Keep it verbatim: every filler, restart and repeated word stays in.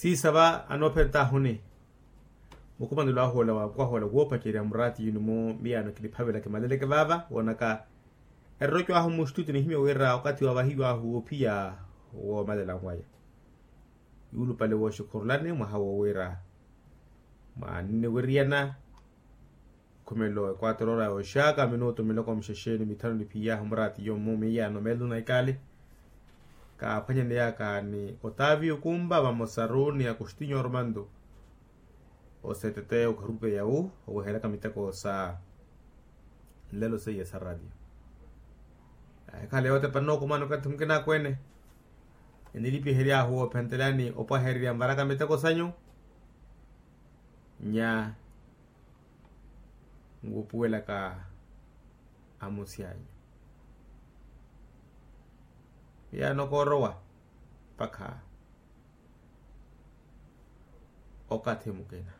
Siisa va anoophentahuni mukhumanelo ahu ola wa kwahoola woopacerya muraati yuni mu miyaano kiniphavela kimaleleke vaava woonaka eroroco ahu mustutio nihimya wira okathi wa vahiyo ahu woophiya woomalela nwaya yuulupale wooxikhurulani mwaha woowira mwaanniweriyana khumelo ekwatoroora yooxaka minutu miloko muxexeni mithanu niphiyahu muraati yomu miyaano meeluna ikaali kaaphwanyaneyaka ni otaviyo kumpa vamosaru ni akustinyo ormanto oseteteya okharupeya wu oweheraka miteko sa nlelo seiya sa radio ahikhala yootepana nookumana okathi mukina akweene enilipihery'ahu woophentelani opwahererya nvaraka miteko sanyu nya nkupuwelaka amusi anyu miyaano koorowa mpakha okathi mukina